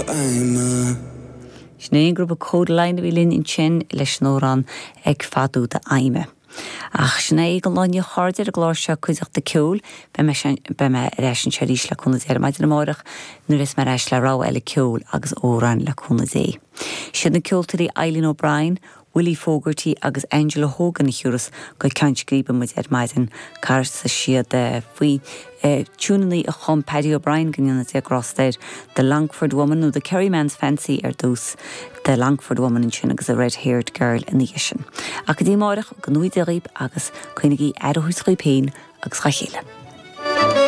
Fheidhme. Sin é an grúpa Kodaline a bhí linn ansin leis an amhrán Ag Fadú d'Fheidhme. Ach sin é don lá inniu a chairde ar an gclár seo Cuideachta Ceoil. Beidh mé beidh mé ar ais anseo arís le cúnamh Dé ar maidin amárach nuair a bheas mé ar ais le rogha eile ceoil agus amhráin le cúnamh Dé. Siad na ceoltóirí Eileen O'Brien, Willie Fogarty agus Angela Hogan a thiúrfas go ceann scríbe muid ar maidin. Casfaidh siad faoi tiúineanna a chum Paddy O'Brien, go ndéana Dia grásta air, The Longford Woman nó The Kerryman's Fancy ar dtús, The Longford Woman ansin agus The Red Haired Girl ina dhiaidh sin. Ach go dtí amáireach, go ngnóthaí Dia dhaoib agus coinnigí aire a thabhairt dhaoib féin agus dhá chéile.